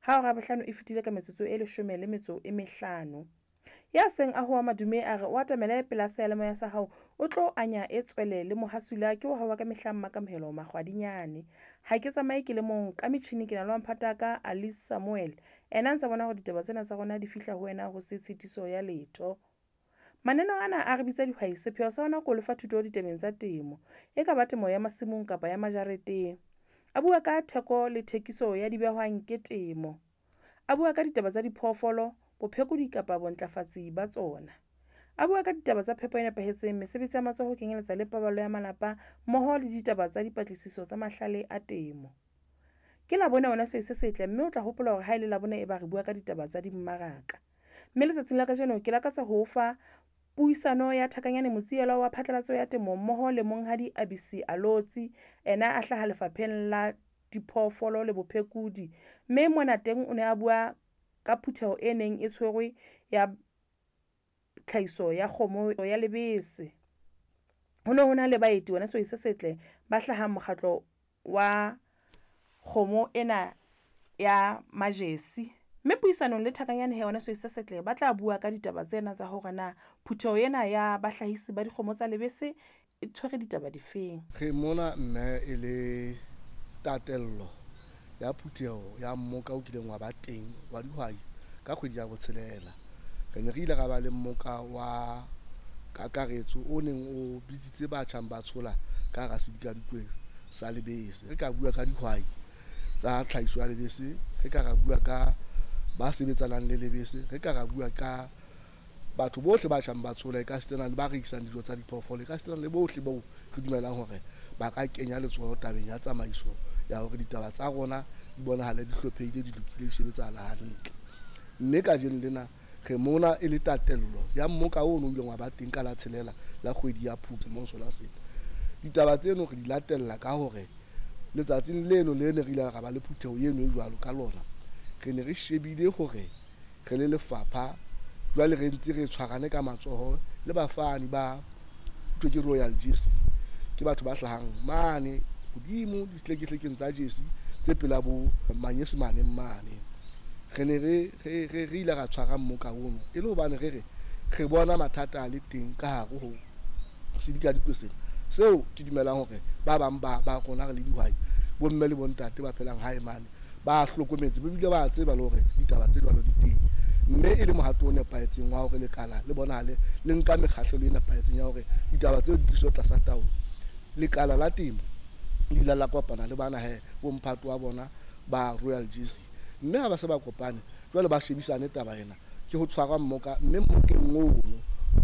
Ha hora ya bohlano e fetile ka metsotso e leshome le metso e mehlano. Ya seng a hoa madume a re o atamele pela seyalemoya sa hao, o tlo anya e tswele le mohasula ke wa hao wa ka mehla Mmakamohelo Makgwadinyane. Ha ke tsamaye ke le mong ka metjhini ke na le wa mphato wa ka Alice Samuel. Ena a ntsa bona hore ditaba tsena tsa rona di fihla ho wena ho se tshitiso ya letho. Mananeo ana a re bitsa dihwai, sepheo sa ona ke ho lefa thuto ditabeng tsa temo. E ka ba temo ya masimong kapa ya majareteng. A bua ka theko le thekiso ya dibehwang ke temo. A bua ka ditaba tsa diphoofolo, bophekodi kapa bontlafatsi ba tsona. A bua ka ditaba tsa phepo e nepahetseng, mesebetsi ya matsoho ho kenyeletsa le paballo ya malapa mmoho le ditaba tsa dipatlisiso tsa mahlale a temo. Ke Labone wena sehwai se setle, mme o tla hopola hore ha e le Labone e ba re bua ka ditaba tsa dimmaraka. Mme letsatsing la kajeno ke lakatsa ho o fa puisano ya Thakanyane Motsielwa wa phatlalatso ya temo mmoho le monghadi Abisi Alotsi, ena a hlaha lefapheng la diphoofolo le bophekodi. Mme mona teng o ne a bua ka phutheho e neng e tshwerwe ya tlhahiso ya kgomo ya lebese. Ho ne ho na le baeti wena sehwai se setle ba hlahang mokgatlo wa kgomo ena ya Majesi. Mme puisanong le Thakanyane he wena sehwai se setle, ba tla bua ka ditaba tsena tsa hore na phutheho ena ya bahlahisi ba dikgomo tsa lebese e tshwere ditaba difeng. Re mona mme e le tatello ya phutheho ya mmoka o kileng wa ba teng wa dihwai ka kgwedi ya botshelela. Re ne re ile ra ba le mmoka wa kakaretso o neng o bitsitse ba tjhang ba tshola ka hara sedikadikwe sa lebese. Re ka bua ka dihwai tsa tlhahiso ya lebese, re ka ra bua ka ba sebetsanang le lebese, re ka ra bua ka batho bohle ba tjhang ba tshola, e ka sitana le ba rekisang dijo tsa diphoofolo, e ka sitana le bohle bao re dumelang hore ba ka kenya letsoho tabeng ya tsamaiso ya hore ditaba tsa rona di bonahale di hlophehile, di lokile, di sebetsahala hantle. Mme kajeno lena re mona e le tatello ya mmoka ono o ileng wa ba teng ka la tshelela la kgwedi ya Phupu selemong sona sena. Ditaba tseno re di latella ka hore letsatsing leno le ne re ile ra ba le phutheho eno e jwalo ka lona, re ne re shebile hore re le lefapha jwale re ntse re tshwarane ka matsoho le bafani ba thwe ke Royal Jersey, ke batho ba hlahang mane hodimo dihlekehlekeng tsa Jersey tse pela bo manyesemaneng mane. Re ne re ile ra tshwara mmoka ono e le hobane re re re bona mathata a le teng ka hare ho sedikadikwe sena, seo ke dumelang hore ba bang ba rona re le dihwai, bomme le bontate ba phelang hae mane ba hlokometse, ba bile ba tseba le hore ditaba tse jwalo di teng, mme e le mohato o nepahetseng wa hore lekala le bonahale le nka mekgahlelo e nepahetseng ya hore ditaba tseo di tliswe tlasa taolo. Lekala la temo le ile la kopana le bana he bomphato wa bona ba Royal Jersey, mme ha ba se ba kopane jwale ba shebisane taba ena, ke ho tshwarwa mmoka, mme mmokeng ono ho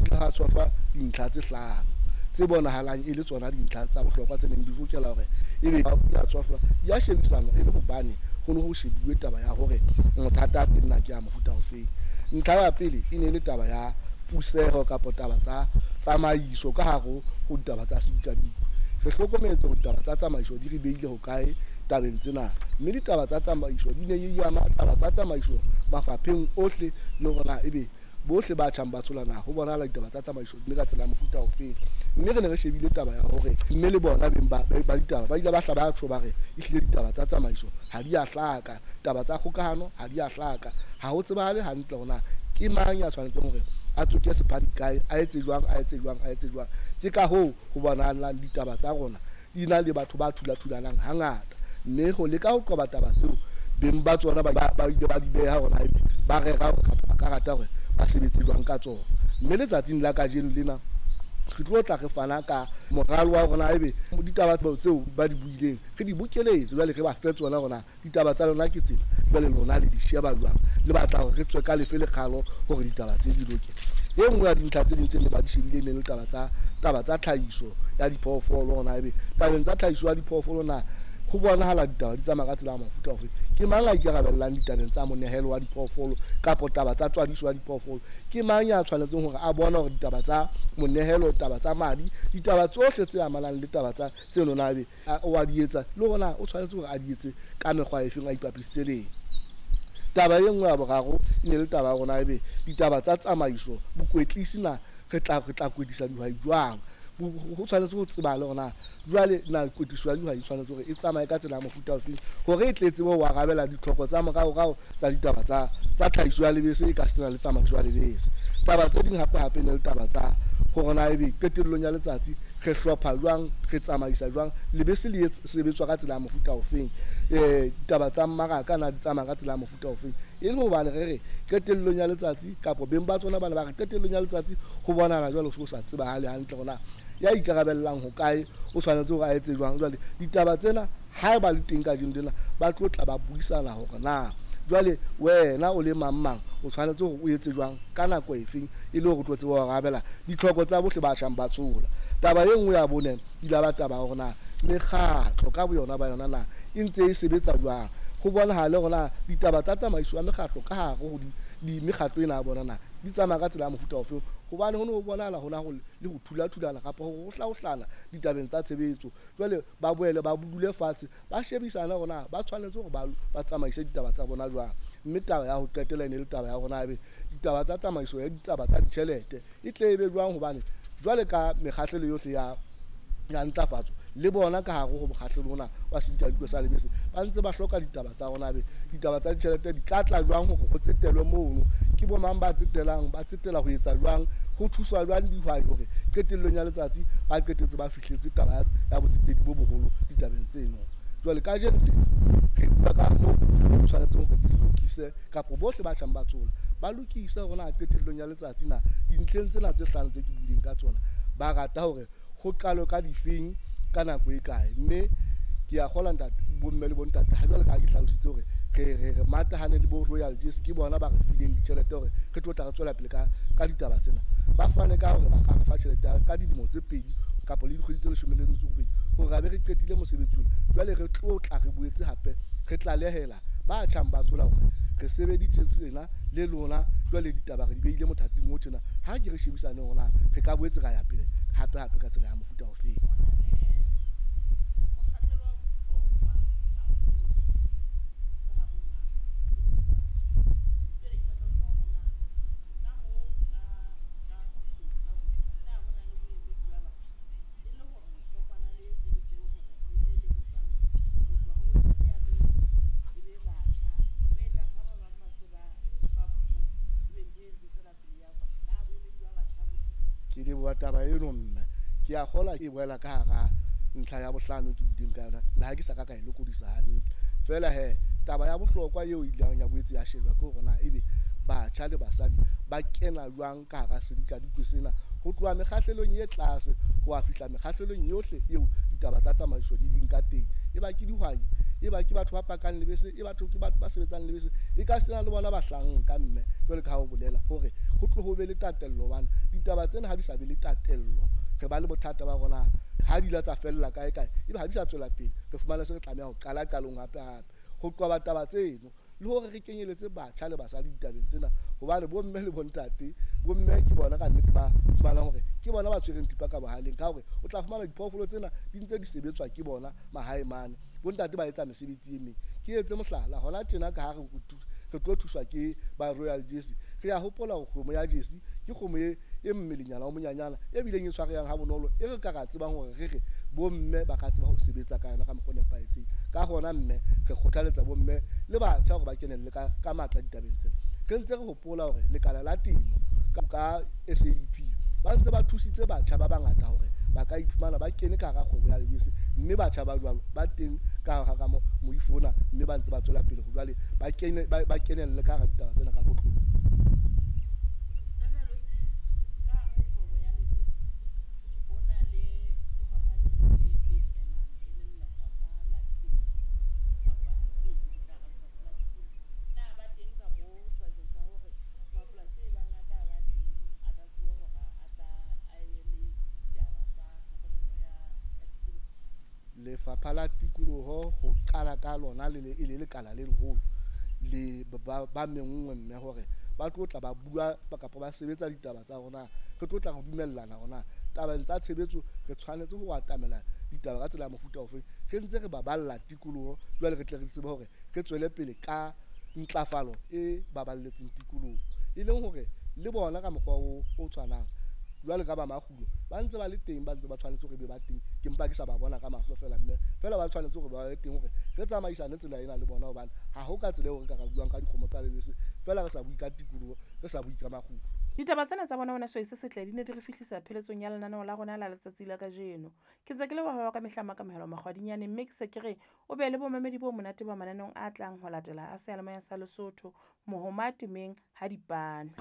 ile ha tshwarwa dintlha tse hlano tse bonahalang e le tsona dintlha tsa bohlokwa tse neng di lokela hore ebe di a tshohlwa, di a shebisanwa e le hobane ho ne ho shebuwe taba ya hore mathata a teng na ke a mofuta ofeng. Ntlha ya pele e ne e le taba ya puseho kapa taba tsa tsamaiso ka hare ho ditaba tsa sedikadikwe. Re hlokometse hore ditaba tsa tsamaiso di re beile hokae tabeng tsena, mme ditaba tsa tsamaiso di ne di ama taba tsa tsamaiso mafapheng ohle, le hore na ebe bohle ba tjhang ba tshola na ho bonahala ditaba tsa tsamaiso mme ka tsela ya mofuta ofeng. Mme re ne re shebile taba ya hore mme le bona beng ba ditaba ba ile ba hla ba tjho ba re ehlile ditaba tsa tsamaiso ha di a hlaka, taba tsa kgokahano ha di a hlaka, ha ho tsebahale hantle hore na ke mang ya tshwanetseng hore a tsoke sephadi kae, a etse jwang, a etse jwang, a etse jwang. Ke ka hoo ho bonahalang ditaba tsa rona di na le batho ba thulathulanang hangata, mme ho leka ho qoba taba tseo beng ba tsona ba ile ba di beha hore na ba rera hore kapa ba ka rata hore ba sebetse jwang ka tsona. Mme letsatsing la kajeno lena re tlo tla re fana ka moralo wa rona, ebe ditaba tseo ba di buileng re di bokeletse, jwale re ba fe tsona hore na ditaba tsa lona ke tsena, jwale lona le di sheba jwang, le batla hore re tswe ka lefe lekgalo hore ditaba tse di loke. E nngwe ya dintlha tse ding tse ne ba di shebile ne le taba tsa tlhahiso ya diphoofolo, hore na ebe tabeng tsa tlhahiso ya diphoofolo na ho bonahala ditaba di tsamaya ka tsela ya mofuta ofe, ke mang a ikarabellang ditabeng tsa monehelo wa diphoofolo kapa taba tsa tswadiso ya diphoofolo, ke mang ya tshwanetseng hore a bone hore ditaba tsa monehelo, taba tsa madi, ditaba tsohle tse amanang le taba tsa tseno na ebe o a di etsa, le hore na o tshwanetse hore a di etse ka mekgwa efeng, a ipapisitse le eng. Taba e nngwe ya boraro e ne le taba ya rona ebe ditaba tsa tsamaiso, bokwetlisi na re tla kwetlisa dihwai jwang. Ho tshwanetse ho tsebahale hore na jwale na kwetliso ya dihwai e tshwanetse hore e tsamaye ka tsela ya mofuta ofeng hore e tle tsebe ho arabela ditlhoko tsa moraorao tsa ditaba tsa tlhahiso ya lebese e ka sena le tsamaiso ya lebese. Taba tse ding hape hape ne le taba tsa hore na ebe qetellong ya letsatsi re hlopha jwang, re tsamaisa jwang lebese le sebetswa ka tsela ya mofuta ofeng, ditaba tsa mmaraka na di tsamaya ka tsela ya mofuta ofeng. E le hobane re re qetellong ya letsatsi kapa beng ba tsona bana ba re qetellong ya letsatsi ho bonahala jwale ho sa tsebahale hantle hore na ya ikarabellang hokae, o tshwanetse hore a etse jwang. Jwale ditaba tsena haeba le teng kajeno lena, ba tlo tla ba buisana hore na jwale wena o le mang mang o tshwanetse hore o etse jwang ka nako efeng e le hore o tlo tseba ho arabela ditlhoko tsa bohle ba tjhang ba tshola. Taba e nngwe ya bone ile ba taba hore na mekgatlo ka boyona ba yona na e ntse e sebetsa jwang, ho bonahale hore na ditaba tsa tsamaiso ya mekgatlo ka hare ho di mekgatlo ena ya bona na di tsamaya ka tsela ya mofuta ofe, hobane ho ne ho bonahala hona ho le ho thula-thulana kapa ho hlaohlana ditabeng tsa tshebetso. Jwale ba boele ba dule fatshe ba shebisane hore na ba tshwanetse hore ba tsamaise ditaba tsa bona jwang. Mme taba ya ho qetela e ne le taba ya hore na ebe ditaba tsa tsamaiso ya ditaba tsa ditjhelete e tle e be jwang, hobane jwale ka mekgahlelo yohle ya ntlafatso le bona ka hare ho mokgahlelo ona wa sedikadikwe sa lebese ba ntse ba hloka ditaba tsa rona, be ditaba tsa ditjhelete di ka tla jwang hore ho tsetelwe mono, ke bo mang ba tsetelang, ba tsetela ho etsa jwang, ho thuswa jwang dihwai hore qetellong ya letsatsi ba qetetse ba fihletse taba ya botsetedi bo boholo ditabeng tseno. Jwale kajeno tjena re bua ka moo re tshwanetseng hore di lokise kapa bohle ba tjhang ba tshola ba lokise hore na qetellong ya letsatsi na dintlheng tsena tse hlano tse ke buileng ka tsona ba rata hore ho qalwe ka difeng ka nako e kae. Mme ke a kgolwa ntate, bomme le bontate, ha jwale ka ha ke hlalositse hore re matahane le bo Royal Jersey, ke bona ba re fileng ditjhelete hore re tlo tla re tswela pele ka ditaba tsena. Ba fane ka hore ba ka re fa tjhelete ka dilemo tse 2 kapa le dikgwedi tse 18 hore re be re qetile mosebetsi ona. Jwale re tlo tla re boetse hape re tlalehela ba tjhang ba tshola hore re sebeditse tsena le lona, jwale ditaba re di behile mothating o tjena, ha ke re shebisane hore na re ka boetse ra ya pele hape hape ka tsela ya mofuta ofeng. Ke leboha taba eno mme ke a kgolwa e boela ka hara ntlha ya bohlano ke buileng ka yona, le ha ke sa ka ka e lokodisa hantle. Feela he taba ya bohlokwa eo e ileng ya boetse ya shejwa ke hore na ebe batjha le basadi ba kena jwang ka hara sedikadikwe sena ho tloha mekgahlelong e tlase ho a fihla mekgahlelong yohle eo ditaba tsa tsamaiso di ding ka teng. E ba ke dihwai, e ba ke batho ba pakang lebese, e batho ke batho ba sebetsang lebese, e ka sena le bona bahlanka mme jwale ka ha o bolela hore ho tlo ho be le tatello, hobane ditaba tsena ha di sa be le tatello re ba le bothata ba rona ha di la tsa fella kae kae, ebe ha di sa tswela pele re fumana se re tlameha ho qala qalong hape hape ho qoba taba tseno le hore re kenyeletse batjha le basadi ditabeng tsena, hobane bomme le bontate, bomme ke bona ka nnete ba fumanang hore ke bona ba tshwereng thipa ka bohaleng, ka hore o tla fumana diphoofolo tsena di ntse di sebetswa ke bona mahae mane, bontate ba etsa mesebetsi e meng. Ke etse mohlala hona tjena ka ha re tlo thuswa ke ba Royal Jersey, re a hopola hore kgomo ya Jersey ke kgomo e mmelenyana o monyanyana e bileng e tshwarehang ha bonolo, e re ka ra tsebang hore re re bomme ba ka tseba ho sebetsa ka yona ka mokgwa o nepahetseng. Ka hona mme re kgothaletsa bomme le batjha hore ba kenelle ka matla ditabeng tsena. Re ntse re hopola hore lekala la temo ka SADP ba ntse ba thusitse batjha ba bangata hore ba ka iphumana ba kene ka hara kgwebo ya lebese, mme batjha ba jwalo ba teng ka hara moifo ona, mme ba ntse ba tswela pele jwale ba kenelle ka hara ditaba tsena ka botlolo. Lefapha la Tikoloho ho qala ka lona le le lekala le leholo le ba menngwe mme hore ba tlo tla ba bua kapa ba sebetsa ditaba tsa rona, re tlo tla re dumellana hore tabeng tsa tshebetso re tshwanetse ho atamela ditaba ka tsela ya mofuta ofe, re ntse re baballa tikoloho jwale re tle re tsebe hore re tswele pele ka ntlafalo e baballetseng tikoloho, e leng hore le bona ka mokgwa o tshwanang Jwale ka ba makgulo ba ntse ba le teng, ba ntse ba tshwanetse hore be ba teng. Ke mpa ke sa ba bona ka mahlo feela, mme feela ba tshwanetse hore ba be teng hore re tsamaisane tsela ena le bona, hobane ha ho ka tsela eo re ka ra buang ka dikgomo tsa lebese feela re sa bue ka tikoloho, re sa bue ka makgulo. Ditaba tsena tsa bona wena sehwai se setle di ne di re fihlisa pheletsong ya lenaneo la rona la letsatsi la kajeno. Ke ntse ke leboha wa ka mehla Makamohelo Makgwadinyane, mme ke se ke re o be le bomamedi bo monate ba mananeong a tlang ho latela a seyalemoya sa Lesotho. Mohoma temeng ha dipanwe.